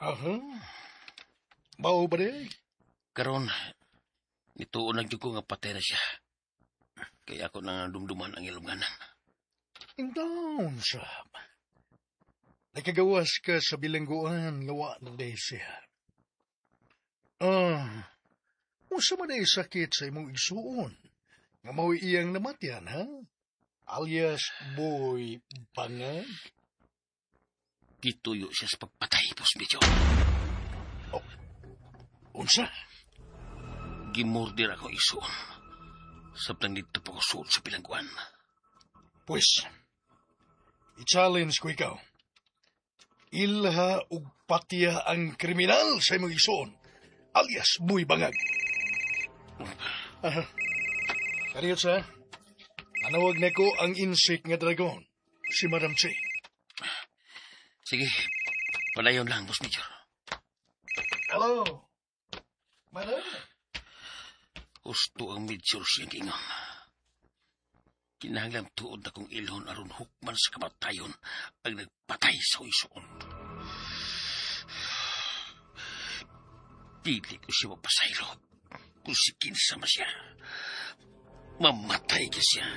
Aha. Mao ba di? Karon, nituon na gyud ko nga patay na siya. Kaya ako nang dumduman ang ilunganan. Intawn, sab. Nakagawas ka sa bilangguan nga wa na day siya. Ah, unsa man ay sakit sa imong igsuon? Nga mao'y iyang namatyan, ha? Alias Boy Bangag? Gituyo siya sa pagpatay, Boss Major. Oh, unsa? Gimurder ako igsuon. Sabtang dito pa ko suod sa bilangguan. Pues, i-challenge ko ikaw. Ilha ug patya ang kriminal sa imong igsuon, alias Boy Bangag. Aha. Kariyot sa, nanawag na ko ang insik nga dragon, si Madam Che. Sige, padayon lang, Boss Major. Hello, Madam? Husto ang Major siyang giingon. Kinahanglan tuod akong ilhon aron hukman sa kamatayon ang nagpatay sa isuon. Dili ko siya mapasaylo kung si kinsa man siya. Mamatay ka siya.